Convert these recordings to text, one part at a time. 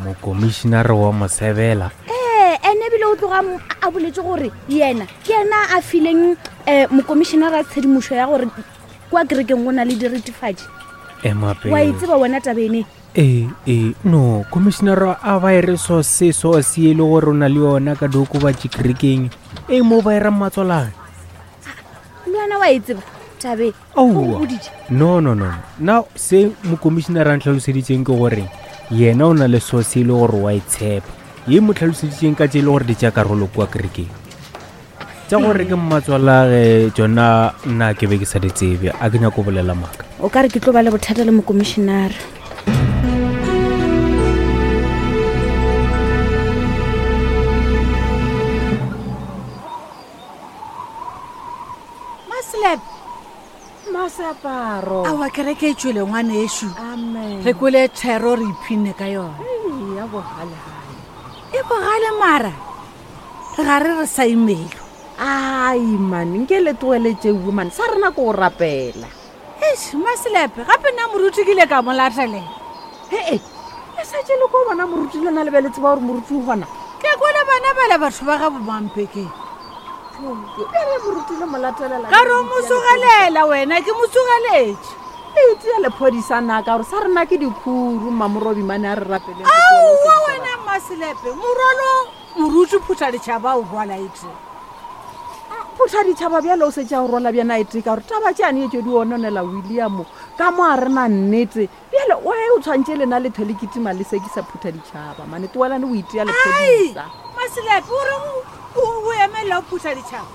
Mokomišinare wa Mosebela? Ee, ene ebile o tloga a boletse gore yena ke yena a fileng um mokomišinara tshedimošo ya gore kwa kerekeng go na le diritifatši. Ema pele. Wa e tseba wena tabene? Ee, ee, no, komišinara a ba e re so se so se e le gore o na le yona ka diokobatši kerekeng e mo ba e ra mmatswalane. Le wena wa e tseba tabe? Aowa. No, no, no. Na se mokomišinara a ntlhaloseditseng ke gore yena o na le so se e le gore wa e tshepa. Ye mo tlhaloseditseng ka tse e le gore di tša karolo kua kerekeng. Tša gore ke mmatswalage tšona nna ke be ke sa di tsebe, a ke nyako bolela maaka. O ka re ke tlo ba le bothata le mokomišinara. Maslap. Maseaparo. Aowa kereke e tšwele ngwanešu. Amen. Re kwele thero re iphinne ka yona. Ei, ya bogalegale. E bogale mara. Re ga re re sa imelo. Ai man, nke le tloele tšeuwe man, sa rena ko go rapela. Eish, Masilepe, gape nna moruti ke ile ka mo latelela. Ee, le sa tše le ko bona moruti lena le be le tseba gore moruti o gona. Ke kwele bana bale batho ba ga bomampekeng. Bjale moruti le mo latelela. Ka re o mo tsogelela wena, ke mo tsogeletše. Le itia lephodisa na ka gore sa rena ke dikhuru mmamorobi mane a re rapeleng. Aowa wena Masilepe, morwalo moruti phutha ditšhaba o rwala e tee. Phutha ditšhaba bjale o setse a o rwala bjana e tee ka gore taba tšeane e tšo di ononela William ka mo a rena nnete. Bjale o e o tshwantše lena le thwe le kitima le sekisa phutha ditšhaba mane tloelane o itia lephodisa. Masilepe o reng o emelela o phutha ditšhaba?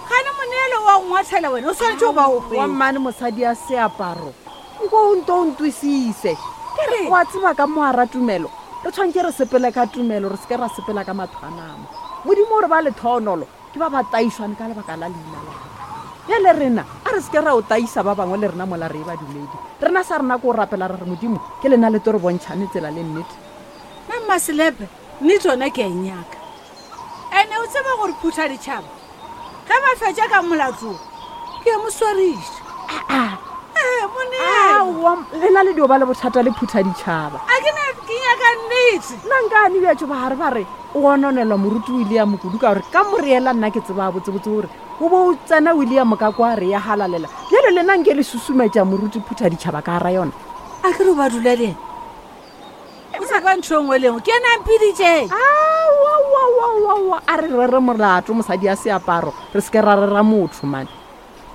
Gane moneelo wa go ngwathela wena o swanetše go ba o Wa mmane mosadi ya seaparo nko o nto o ntwisise. Ke re wa tseba ka mo a ra tumelo re tshwantše re sepele ka tumelo re se ke ra sepela ka matho a nama. Modimo o re ba lethonolo Ke ba ba taišwane ka lebaka la leina la ka. Bjale rena, a re se ke ra o taisa ba bangwe le rena mola re e badumedi. Rena sa rena ke go rapela ra re, Modimo, ke lena le tlo re bontšhane tsela le nnete. Nna Mmaselepe, nnete yona ke a e nyaka. Ene o tseba gore phutha ditšhaba ge ba fetša ka molato wo, ke a mo swariša. Aa! Ee, moneelo. Aowa, lena le dio ba le bothata le phutha ditšhaba. A ke na ke nyaka nnete. Nna nkane bjatšo ba gare ba re, O gononelwa moruti William kudu ka gore ka moreela nna ke tseba botsebotse gore o bo o tsena William ka kwa re ya halalela. Bjale lena nke le susumetša moruti Phuthaditšhaba ka gara yona. A ke re o ba dula le yena? O sa kwa ntho e nngwe le nngwe. Ke yena a mpiditšeng. Aowaowaowaowa, a re rere molato mosadi ya seaparo, re se ke ra rera motho mane.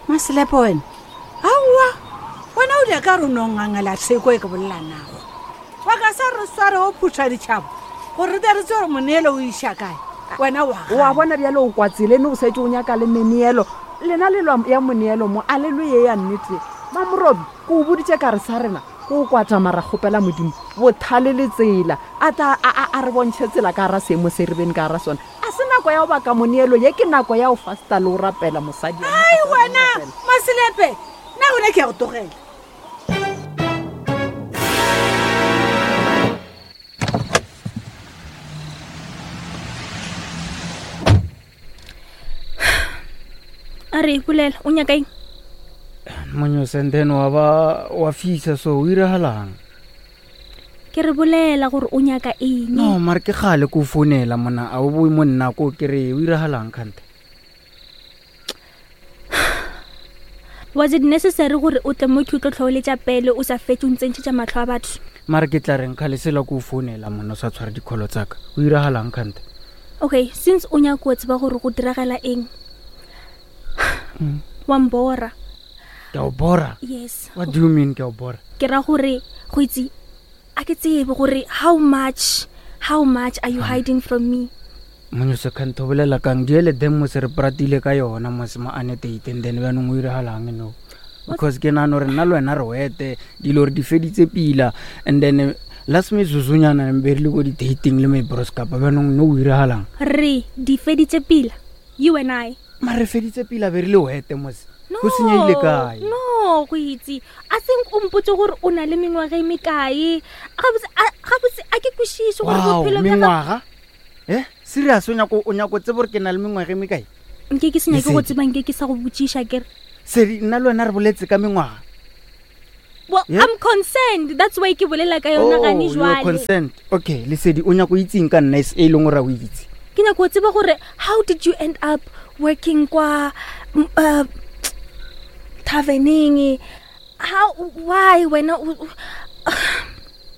Maselepe wena. Aowa, wena o dia ka re o no ngangela theko e ke bolela nago. Wa ka sa re sware o phutha ditšhaba gore re tle re tsebe gore moneelo o iša kae. Wena wa Wa bona bjale o kwa tseleng o setse o nyaka le meneelo. Lena le lwa ya moneelo mo a le lwe ye ya nnete. Mamorobi, ke o boditše ka re sa rena ke o kwata mara kgopela Modimo bothale le tsela a tla a, a, a re bontšhe tsela ka gara seemo se re beng ka gara sona. A se nako ya go baka moneelo ye ke nako ya go fasta le go rapela mosadi. Ai wena Maselepe, nna gona ke ya go tlogela. A re bolela o nyaka eng? Monyosenden wa ba wa fisa so o iragalang? Ke re bolela gore o nyaka eng. No, mare ke kgale ko founela mona a o boe mo nna ko ke re o iragalang kgante. Was it necessary gore o tle mo ke o tlo tlhoeletša pele o sa fetše o ntsentšhetša mahlo a batho? Mare ke tla reng kgale sela ko founela mona o sa tshware dikholo tsaka. O iragalang kgante? Okay, since o nyaka o tseba gore go diragala eng. Wa mbora. Ke a o bora? Yes. What do you mean ke a o bora? Ke ra gore go itse a ke tsebe gore how much how much are you hiding from me? Monyose kganthe o bolela kang diele them mose re pratile ka yona mose mo anetate and then bjanong o iragalang no because ke nagana gore nna le wena re wete dilo re di feditse pila and then last metsotsonyana be re le ko di-dating le my broskapa bjanong no o iragalang Re di feditse pila you and I. Mare re feditse pila be re le wete mose go senyegile kae? No, go itse. A think o mpotse gore o na le mengwaga e mekae. Gabotse gabotse a ke kwešiše gore bophelo bja mengwaga? Eh, serious o nyako o nyako tseba gore ke na le mengwaga e mekae? Nke ke se nyake go tseba nke ke sa go botšiša kere. Sedi nna le wena re boletse ka mengwaga. Well, Yeah? I'm concerned. That's why ke bolela ka yona Oh, gane you are jwale. concerned. Okay, Lesedi, o nyaka o itseng ka nna e leng gore a o itse. Ke nyaka go tseba gore how did you end up working kwa taverneng? How why wena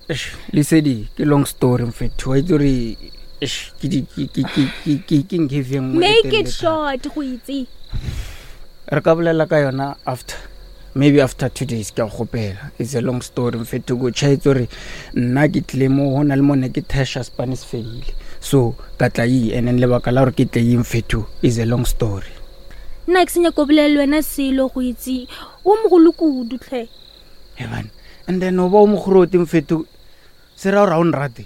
Eish, Lesedi, ke long story mfethu. Wa itse gore eish, ke di- ke- ke- ke- ke- ke- ke nkhefi e nngwe e make telele it thata. short go itse. Re ka bolela ka yona after maybe after 2 days ke a go gopela. It's a long story mfethu. Ko tšhaetse gore nna ke tlile mo go na le mo ne ke thasha spane se fedile, so ka tla e, and then lebaka la gore ke tle e mfethu is a long story. Nna ke se nyaka go bolela le wena selo go itse. O mogolo kudu tlhe. Hey man, and then o ba o mogorote mfethu, se ra gore ga o nrate.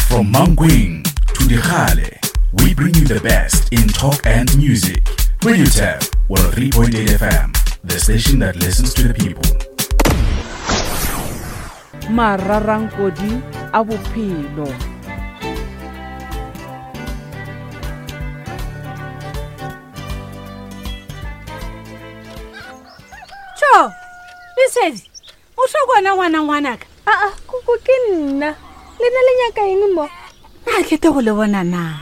From Mankweng to Dikgale, we bring you the best in talk and music. Radio Tap 103.8 FM, the station that listens to the people. Mararankodi a bophelo. Tšho, Lesedi, o tlo kwana ngwana ngwanaka? Aa, koko ke nna. Le nna le nyaka eng mo? Na ke te go le bona na?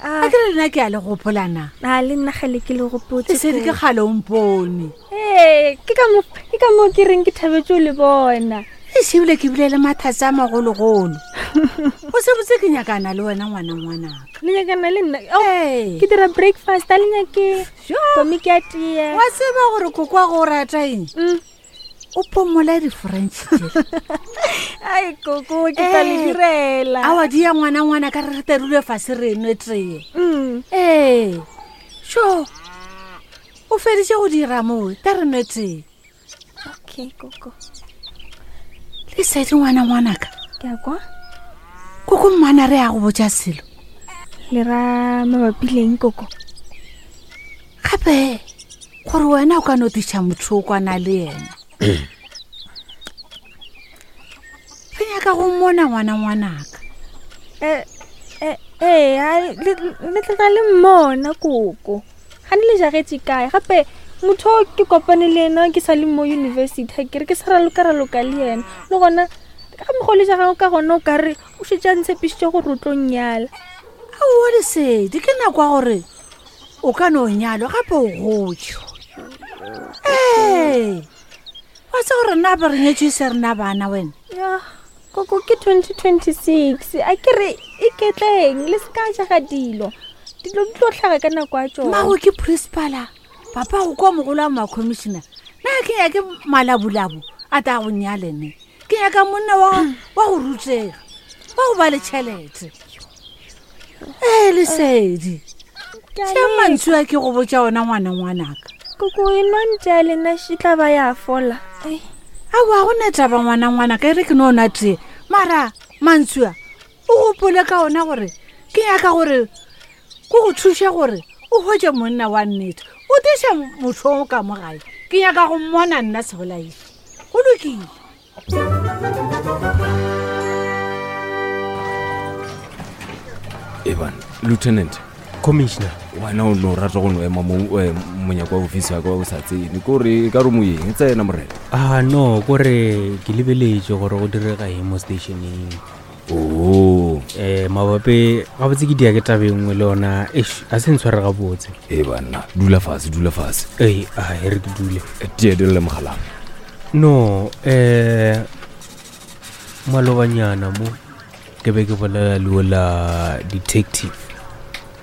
A ke re nna ke a le gopola na? A le nna gale ke le gopotse. Lesedi, ke kgale o mpone. Ee, ke ka mo ke ka mo ke reng ke thabetse o le bona. Ešebile ke bile le mathata a magologolo. O se botse ke nyakana le wena ngwana ngwanaka. Le nyakana le nna? Oh, Ee. ke dira breakfast, a le nyake Sure. komi ke a tee. Wa tseba gore koko wa go rata eng? O pomola di-french tšela. Ai koko, ke tla le Eh. direla. Aowa, di ya ngwana ngwana ka re re terule fase re nwe tee. Ee, sure, o feditše go dira moo, ta re nwe tee. Okay, koko. Lesedi ngwana ngwanaka. Ke a kwa. Koko mmana re ya go botša selo. Le ra mabapi leng koko? Gape gore wena o ka no tiša motho o kwana le yena. Re nyaka go mmona ngwana ngwanaka. Ee, le tloga le mmona koko. Ga ne le jagetše kae? Gape motho o ke kopane le ena ke sa le mo university, ha ke re ke sa raloka-raloka le yena. Le gona ka mokgwa o le jagang ka gona o ka re o šetše a ntshepišitše gore o tlo nnyala. Aowa Lesedi, ke nako ya gore o ka no nyalwa gape o gotše. Ee, wa tseba gore nna be re nyetšwe se rena bana wena? Ya, koko ke 2026, a ke re iketleng le se ka jaga dilo. Dilo di tlo hlaga ka nako ya tšona. Mmago ke principala, papa go kwa mogolo wa ma-commissioner. Nna ke nyake malabolabu a ta go nyale ne. Ke nyaka monna wa go rutega, wa go ba le tšhelete. Ee Lesedi, Ke a tšea leka. mantswe a ke go botša ona ngwana ngwanaka. Koko e nwa ntse a lena e tla ba ya fola. Ai. Aowa, go ne taba ngwana ngwanaka, e re ke no nwa tee. Mara mantswe a o gopole ka ona gore ke nyaka gore ko go thuše gore o hwetše monna wa nnete, o tiše motho o ka mo gae. Ke nyaka go mmona nna sebolaiši. Go lokile. Eban, Lieutenant. Commissioner. Wena o no rata go no ema mo monyako wa ofisi ya ka o sa tsene. Ke gore e ka re moyeng, tsena morena. Ah no, kore ke lebeletše gore go direga eng mo stationeng. Oh. Mabapi gabotse ke dia ke taba e nngwe le yona, eish, a se ntshware gabotse. E banna, dula fase, dula fase. Ei, a e re ke dule. Tee dule mogaleng. No, malobanyana mo ke be ke bolela le ola detective.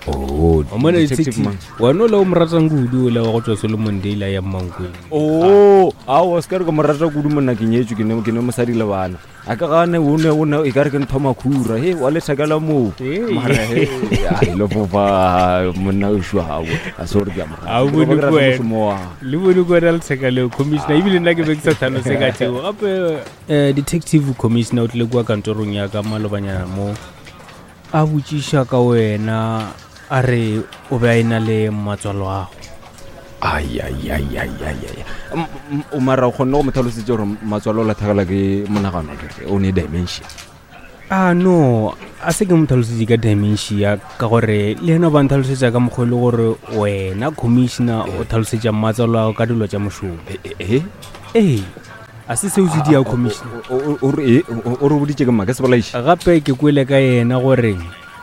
Oh, Wa mona detective detective mang? Wena ola o mo ratang kudu, ola wa go tswa Solomon Dale a ya Mankweng. Oh, aowa, se ka re ke mo rata kudu monna, ke nyetswe, ke ne mosadi le bana. A ka gane o ne, o ne, e ka re ke ntho makhura, he, wa letheka la moo. Hey. Mara, he, ai, le fofa, monna o shwa hao, a se gore ke a mo rata. A o Ke bone rata ko wena. mošomo wa gagwe. Le bone ko wena letheka leo, commissioner, ebile nna ke be ke sa tlhalose ka tseo. Gape, detective commissioner o tlile kua kantorong ya ka malobanyana mo, a botšiša ka wena, a re o be a ena le matswalo ago. Ai, ai, ai, ai, ai, ai. O mara o kgonne go mo tlhalosetsa gore matswalo o latlhegelwa ke monagano, ke re, o ne dementia. A no, a se ke mo tlhalosetše ka dementia ka gore le yena ba ntlhalosetša ka mokgwa e le gore wena commissioner o tlhalosetša mmatsalo ao ka dilo tša mošomo. E Ee, a se seo se dia commissioner. O re boditše ke mma ke sebolaiši. Gape ke kwele ka yena gore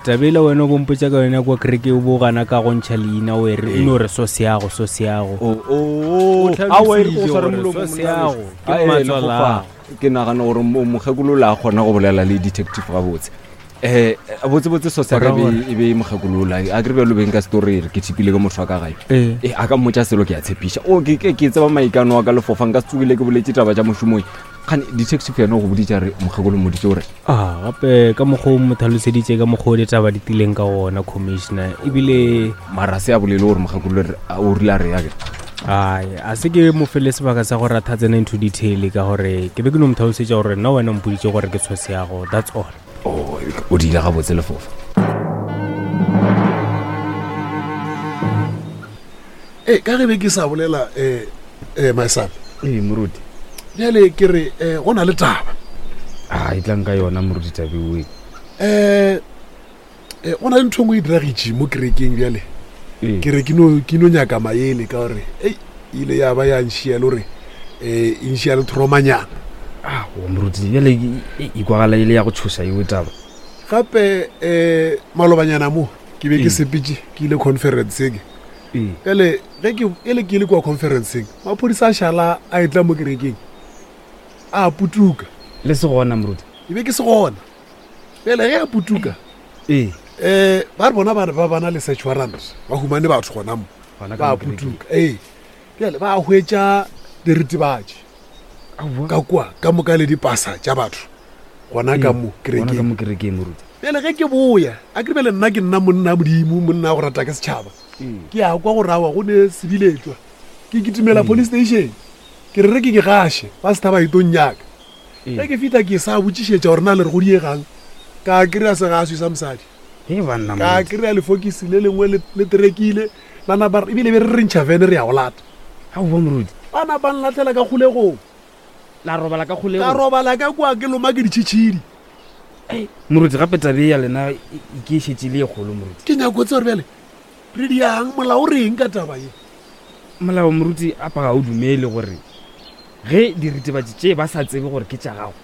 tabela wena o bompotša ka yona kwa kereke o bo gana ka go ntšha leina o ere o no re so seago so seago. O O tlhalositše gore so seago ke mmatswalao. Ke nagana gore mokgekolola a kgona go bolela le detective gabotse. Um botsebotse sosaka e be e mokgekolola a kere bjalo beng ka setori re ke thipile ke motho wa ka gae. Ee, a ka mmotša selo ke a tshepiša. O ke ke tseba maikano a ka lefofa nka se tsogile ke boletse taba tša mošomong. Kgane detective yena o go boditše a re mokgekolo mmoditše gore A gape ka mokgwa o mo tlhaloseditše ka mokgwa o ditaba di tileng ka gona commissioner ebile mara se a bolele gore mokgekolo o rile a re ya ke. Ai, a se ke mo fele sebaka sa gore a tha tsena into detail ka gore ke be ke no mo tlhalosetša gore nna wena o mpoditše gore ke tshose yago that's all. Oh, o diile gabotse lefofa. Ee, ka ge be ke sa bolela um um my son. Ee, moruti. Bjale ke re um go na le taba. A e tlang ka yona moruti tabeoe. Um go na le ntho e nngwe e diragitše mo kerekeng bjale. Ke re ke no ke no nyaka maele ka gore ei e ile ya ba ya nšia le gore um e nšia le thromanyana. Aowa moruti bjale e e kwagala e le ya go tshoša eo taba. Gape um malobanyana mo ke be ke sepetše ke ile conferenceng. Bjale ge ke e le ke le kua conferenceng maphodisa a šala a etla mo kerekeng a putuka. Le se gona moruti? E be ke se gona. Bjale ge a putuka ee um ba re bona ba re ba bana le search warrant ba humane batho gona mo ba putuka. Ee bjale ba hwetša diritibatši ka kua ka moka le dipasa tša batho gona ka mo kerekeng moruti. Bjale ge ke boya a ke bjale nna ke nna monna modimo monna go rata ke setšhaba ke ya kwa go rawa go ne sebiletšwa ke kitimela police station ke re re ke ke gaše ba setha ba itong nyaka ge ke fihla ke sa botšišetša gore na le re go diegang ka kry-a segaswi sa mosadi ka kry-a lefokisi le lengwe le terekile la napa ebile be re re ntšha vene re ya go lata. Aowa moruti. Ba napa nlatlhela ka kgolegong. La robala ka kgolegong? Ka robala ka kua ke loma ke ditšhitšhidi. Moruti gape tabe ya lena e ke e šetše le e kgolo moruti. Ke nyako tseba gore bjale re diang molao o reng ka taba ye? Molao moruti apa ga o dumele gore ge diritibatši tše ba sa tsebe gore ke tša gago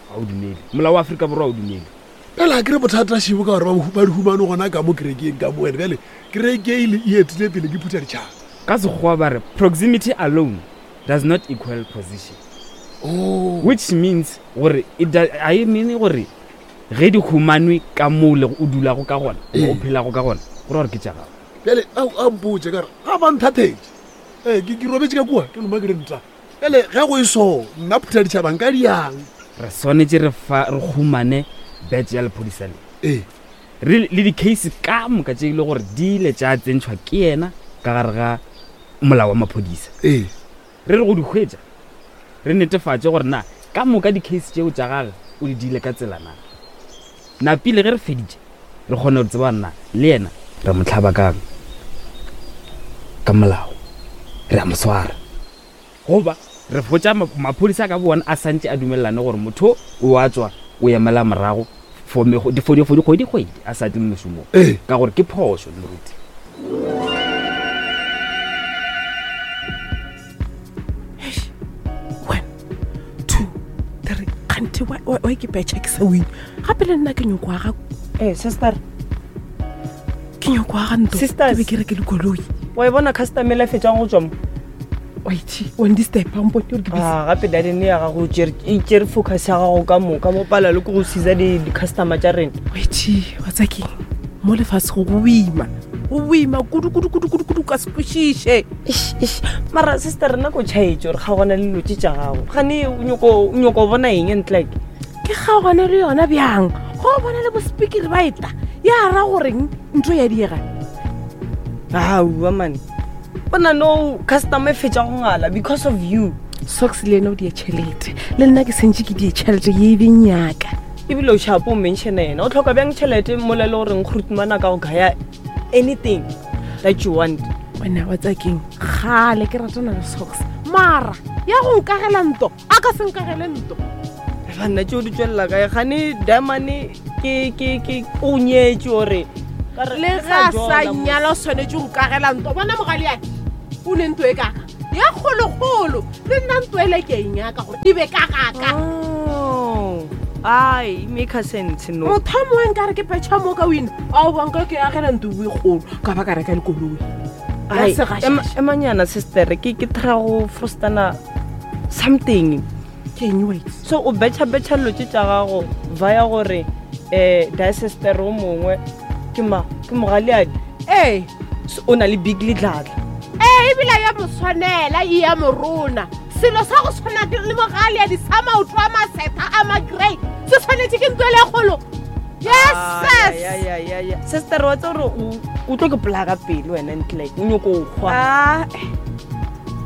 ga o dumele. Molao wa Afrika Borwa ga o dumele. Bjale a ke re bothata šebo ka gore ba di humane gona ka mo kerekeng ka mo ene bjale kereke e ile e etile pele ke phutha ditšhaba. Ka Sekgowa ba re proximity alone does not equal position. Oh. Which means gore ga e mean gore ge di humanwe ka moo le o dulago ka gona goba o phelago ka gona go ra gore ke tša gago. Bjale a mpotše ka re ga ba nthathetše ee ke robetše ka kua ke loma ke re nta bjale ge go e so nna phutha ditšhaba nka diang. Re swanetše re fa re humane badge ya lephodisa le. Ee. Re le di-case ka moka tše e le gore di ile tša tsentšhwa ke yena ka gare ga molao wa maphodisa. Ee. Re re go di hwetša re netefatše gore na ka moka di-case tšeo tša gage o di diile ka tsela na. Napile ge re feditše re kgone go tseba na le yena re mo hlaba kang ka molao, re a mo swara goba re fotša maphodisa ka bona a santše a dumelelane gore motho o a tswa o emela morago for dikgwedi-kgwedi a sa tle mošomong ka gore ke phošo moruti. One, two, three. Kganthe wa ke petšha ke sa win. Gape le nna ke nyoko aga. Eh, sister. Ke nyoko aga ntlo. Sisters. Ke be ke reke le koloi. Wa e bona customer e fetšang go tswa mo? Wait, wa ndisturb, mpone gore ke busy. Ah, gape dadene ya gago e tšere focus ya gago ka moka mo pala le ke go siza di-customer tša rena. Wait, wa tsa keng? Mo lefase go boima. Go boima kudu kudu kudu kudu kudu ka se kwešiše. Eish, eish. Mara sister rena ko tšhaetše gore kgaogana le dilo tše tša gago. Gane o nyoko bona eng ntle ke? Ke kgaogane le yona bjang? Go bona le bo speaker ba eta. Ya ra goreng ntho ya diega? Aowa man. Bona no customer e fetša go ngala because of you. Socks le ena o die tšhelete. Le nna ke sentše ke die tšhelete ye e beng yaka. Ebile o shapo o mention yena. O tlhoka bjang tšhelete mola e le goreng Grootman a ka go gaya anything that you want. Wena wa tsaya keng? Kgale ke ratana le Socks. Mara ya go nkagela nto, a ka se nkagele nto. Banna tšeo di tswelela kae gane diamane ke ke ke o nyetše ore le ge a sa nyala o swanetše go kagela nto bona mogaleake o ne nto e kaka ya kgolokgolo le nna nto ele ke eng yaka gore e be ka gaka oh, ai make a sense no motho mongwe nka re ke petšha mo ka wina a o banka ke agela nto e kgolo ka ba ka reka lekoloi emanyana sister ke ke try go frostana something ke eng wait so o betšha betšha dilo tše tša gago via gore um diasester o mongwe ke ma ke mogaleadi ee so o na le big letlatla ee ebile ya mo tshwanela e ya morona selo sa go tshwana le mogaleadi sa maoto a masetha a magrey se tshwanetse ke ntwele kgolo yes sis sister wa tse gore o tlo ke polaka pele wena ntle o nyoko o kgwa ah,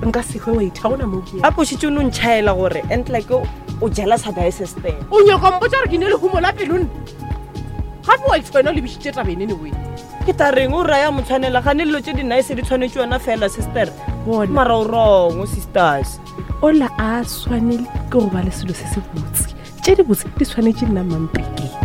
nka sehwe wa itha gona mo a pošitše o no ntšhaela gore and like o jela sa diasester o nyoko mpotsa gore ke ne lehumo la pelone gape wa itshwena o lebišitše tabene ne wena ke ta reng o raya motshwanela gane dilo tse di-nice di tshwanetse yona fela sister mara o wrong sisters ola a swanele ke go ba le selo se se botse tše di botse di tshwanetse nna mampekeng.